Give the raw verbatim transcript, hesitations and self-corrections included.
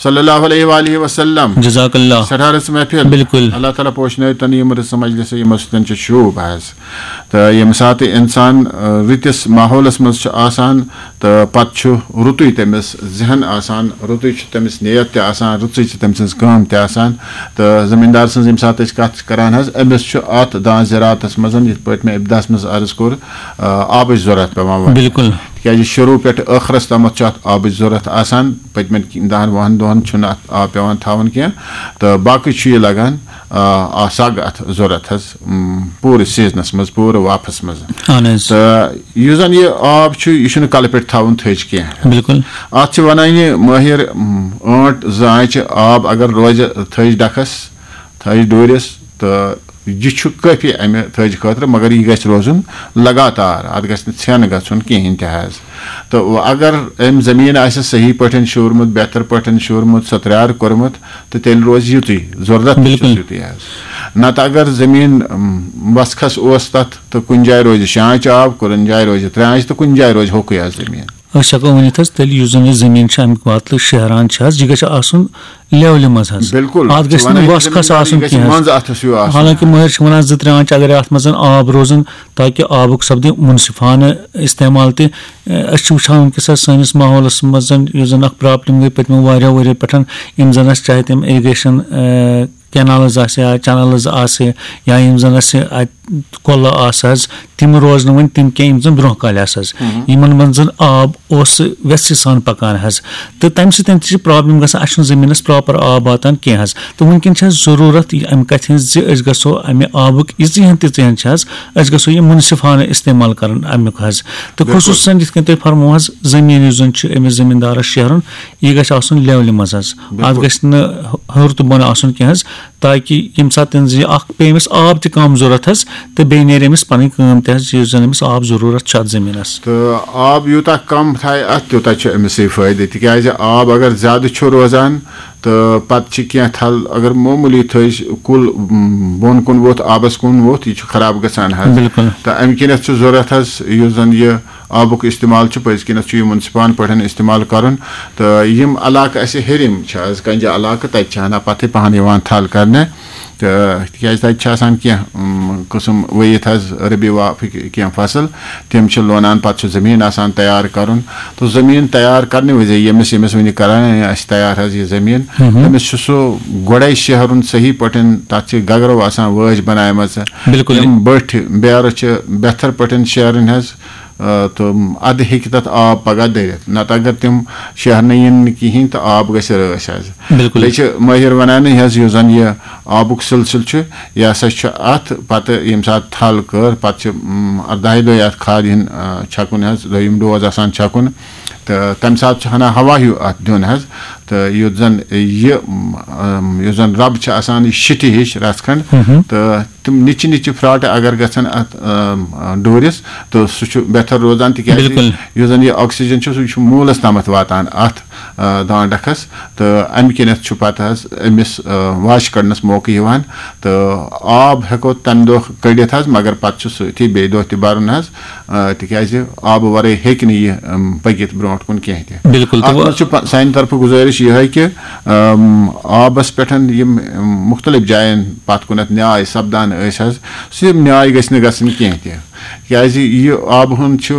صلی اللہ علیہ وآلہ وسلم۔ جزاک اللہ۔ سٮ۪ٹھاہ رٕژ محفل۔ بِلکُل۔ اللہ تعالیٰ پوشنٲوِو تۄہہِ یِم رٕژٕ مجلسہٕ، یِمو سۭتۍ چھُ شوٗب حظ۔ تہٕ ییٚمہِ ساتہٕ اِنسان، آ، رٕتِس ماحولَس منٛز چھُ آسان، تہٕ پَتہٕ چھُ رُتُے تٔمِس ذہن آسان، رُتُے چھُ تٔمِس نیت تہِ آسان، رٕژٕے چھِ تٔمۍ سٕنٛز کٲم تہِ آسان۔ تہٕ زٔمیٖندار سٕنٛز ییٚمہِ ساتہٕ أسۍ کَتھ چھِ کَران حظ، أمِس چھُ اَتھ دانہِ زِراعتَس منٛز، یِتھ پٲٹھۍ مےٚ ابتداہَس منٛز عرض کوٚر، آ، آبٕچ ضوٚرَتھ پٮ۪وان وَنٕنۍ۔ بِلکُل۔ تِکیٛازِ شروٗع پٮ۪ٹھ ٲخرَس تامَتھ چھُ اَتھ آبٕچ ضوٚرَتھ آسان۔ پٔتمٮ۪ن دَہَن وُہَن دۄہَن چھُنہٕ اَتھ آب پٮ۪وان تھاوُن کینٛہہ، تہٕ باقٕے چھُ یہِ لَگان، آ، آ، سَگ اَتھ ضوٚرَتھ حظ، م، پوٗرٕ سیٖزنَس منٛز، پوٗرٕ واپَس منٛز۔ اَہَن حظ۔ تہٕ یُس زَن یہِ آب چھُ، یہِ چھُنہٕ کَلہٕ پٮ۪ٹھ تھاوُن تھٔج کینٛہہ۔ بِلکُل۔ اَتھ چھِ وَنان یہِ مٲہِر، م، ٲنٛٹ زٕ آنٛچہِ آب اگر روزِ تھٔج ڈَکھَس، تھٔج ڈوٗرِس، تہٕ یہِ چھُ کٲفی اَمہِ تھٔج خٲطرٕ، مگر یہِ گژھِ روزُن لگاتار، اَتھ گژھِ نہٕ ژھٮ۪ن گژھُن کِہیٖنۍ تہِ حظ۔ تہٕ وۄنۍ اگر أمۍ زٔمیٖن آسہِ صحیح پٲٹھۍ شوٗرمُت، بہتر پٲٹھۍ شوٗرمُت، ستریار کوٚرمُت، تہٕ تیٚلہِ روزِ یُتُے، ضروٗرت تہِ چھُس بِلکُل۔ یُتُے حظ۔ نَتہٕ اگر زٔمیٖن، اَم، وَسخَس اوس تَتھ، تہٕ کُنہِ جایہِ روزِ شےٚ آنٛچہِ آب، کُنہِ جایہِ روزِ ترٛےٚ آنٛچہِ، تہٕ کُنہِ جایہِ روزِ ہوٚکُے حظ زٔمیٖن۔ أسۍ ہٮ۪کو ؤنِتھ حظ، تیٚلہِ یُس زَن یہِ زٔمیٖن چھِ اَمیُک وَتلہٕ شیہران چھِ حظ، یہِ گژھِ آسُن لیولہِ منٛز حظ۔ بِلکُل۔ اَتھ گژھِ نہٕ وَنان چھِ وَس کھَس زٔمیٖن آسُن گژھِ کینٛہہ حظ۔ منٛزٕ اَتھَس ہیوٗ آسُن۔ حالانکہ مٲہِر چھِ وَنان زٕ ترٛےٚ آنٛچہِ اگر اَتھ منٛز آب روزَن، تاکہِ آبُک سَپدِ مُنصِفانہٕ استعمال تہِ۔ اَسہِ چھِ وٕچھان وٕنکیٚس حظ سٲنِس ماحولَس منٛز یُس زَن اَکھ پرٛابلِم گٔے پٔتمیو واریاہو ؤریو پٮ۪ٹھ، یِم زَن اَسہِ چاہے تِم irrigation، اَ، canals آسہِ یا channels آسہِ، یا یِم زَن اَسہِ اَتہِ کۄلہٕ آسہٕ حظ، تِم روزنہٕ وۄنۍ تِم کینٛہہ یِم زَن برونٛہہ کالہِ آسہٕ حظ۔ یِمَن منٛز زَن آب اوس ویژھِ سان پَکان حظ۔ تہٕ تَمہِ سۭتۍ تہِ چھِ پرٛابلِم گژھان، اَسہِ چھُنہٕ زٔمیٖنَس proper آب واتان کینٛہہ حظ۔ تہٕ وٕنکیٚن چھِ اَسہِ ضروٗرت یہِ اَمہِ کَتھِ ہِنٛز زِ أسۍ گژھو اَمہِ آبُک یِژٕے ہَن تِژٕے ہَن چھِ حظ، أسۍ گژھو یہِ مُنصِفانہٕ استعمال کَرُن اَمیُک حظ۔ تہٕ خصوٗصاً یِتھ کٔنۍ تُہۍ فرموو حظ، زٔمیٖن یُس زَن چھُ أمِس زٔمیٖندارَس شیہرُن، یہِ گژھِ آسُن لیولہِ منٛز حظ۔ اَتھ گژھِ نہٕ ہیوٚر تہٕ بۄن آسُن کینٛہہ حظ، تاکہِ ییٚمہِ ساتہٕ تٔمِس یہِ اَکھ پیٚیہِ أمِس آب تہِ کَم ضوٚرَتھ حظ، تہٕ بیٚیہِ نیرِ أمِس پَنٕنۍ کٲم تہِ حظ، یُس زَن أمِس آب ضروٗرت چھُ اَتھ زٔمیٖنَس۔ تہٕ آب یوٗتاہ کَم تھایہِ اَتھ، تیوٗتاہ چھُ أمِسٕے فٲیدٕ، تِکیٛازِ آب اگر زیادٕ چھُ روزان، تہٕ پَتہٕ چھِ کینٛہہ تھل، اگر معموٗلی تھٔج کُل، م، بۄن کُن ووٚتھ، آبَس کُن ووٚتھ، یہِ چھُ خراب گژھان حظ۔ بِلکُل۔ تہٕ اَمہِ کِنٮ۪تھ چھُ ضوٚرَتھ حظ، یُس زَن یہِ آبُک استعمال چھُ، پٔزۍ کِنٮ۪تھ چھُ یہِ مُنصِفانہٕ پٲٹھۍ استعمال کَرُن۔ تہٕ یِم علاقہٕ اَسہِ ہیٚرِم چھِ حظ، کَنجہِ علاقہٕ، تَتہِ چھِ ہنا پَتھٕے پَہَن یِوان تھل کَرنہِ۔ تہٕ تِکیٛازِ تَتہِ چھِ آسان کینٛہہ، م، قٕسٕم ؤوِتھ حظ، ربی وافٕکۍ کینٛہہ فصل، تِم چھِ لونان، پَتہٕ چھُ زٔمیٖن آسان تیار کَرُن۔ تہٕ زٔمیٖن تیار کَرنہٕ وِزِ ییٚمِس، ییٚمِس وٕنہِ کَران، اَسہِ تیار حظ یہِ زٔمیٖن، تٔمِس چھُ سُہ گۄڈَے شیہرُن صحیح پٲٹھۍ، تَتھ چھِ گگرو آسان وٲج بَنایمَژٕ۔ بِلکُل۔ تِم بٔٹھۍ بیرٕ چھِ بہتر پٲٹھۍ شیہرٕنۍ حظ، آ، تہٕ اَدٕ ہیٚکہِ تَتھ آب پَگاہ دٔرِتھ۔ نَتہٕ اگر تِم شیہرنہٕ یِن نہٕ کِہیٖنۍ، تہٕ آب گژھِ رٲچھ حظ۔ بِلکُل۔ بیٚیہِ چھِ مٲہِر وَنان، یہِ حظ، یُس زَن یہِ آبُک سِلسِلہٕ چھُ، یہِ ہسا چھُ اَتھ پَتہٕ ییٚمہِ ساتہٕ تھل کٔر، پَتہٕ چھِ، م، اَرداہہِ دۄہہِ اَتھ کھاد ہِن، آ، چھَکُن حظ، دوٚیِم ڈوز آسان چھَکُن۔ تہٕ تَمہِ ساتہٕ چھُ ہنا ہوا ہیوٗ اَتھ دیُن حظ۔ تہٕ یُتھ زَن یہِ، م، یُس زَن رَب چھِ آسان، یہِ شِٹہِ ہِش رَژھ کھنٛڈ، تہٕ تِم نِچہِ نِچہِ پھراٹہٕ اگر گژھن اَتھ، آ، ڈوٗرِس، تہٕ سُہ چھُ بہتر روزان، تِکیٛازِ یُس زَن یہِ oxygen چھُ، سُہ چھُ موٗلَس تامَتھ واتان اَتھ، آ، دانٛڈَکھَس۔ تہٕ اَمہِ کِنٮ۪تھ چھُ پَتہٕ حظ أمِس، آ، واچہِ کَڑنَس موقعہٕ یِوان۔ تہٕ آب ہٮ۪کو تَمہِ دۄہ کٔڑِتھ حظ، مگر پَتہٕ چھُ سۭتی بیٚیہِ دۄہ تہِ بَرُن حظ، آ، تِکیٛازِ آبہٕ وَرٲے ہیٚکہِ نہٕ یہِ، اَم، پٔکِتھ برونٛٹھ کُن کینٛہہ تہِ۔ بِلکُل، تہٕ اَتھ وۄنۍ منٛز چھُ پَ-، سانہِ طرفہٕ گُزٲرِش یِہوٚے کہِ، اَم، آبَس پٮ۪ٹھ یِم، اَم، مُختٔلِف جایَن پَتھ کُنَتھ نیاے سَپدان ٲسۍ حظ، سُہ یِم نیاے گٔژھۍ نہٕ گژھٕنۍ کینٛہہ تہِ، کیٛازِ یہِ آبہٕ ہُنٛد چھُ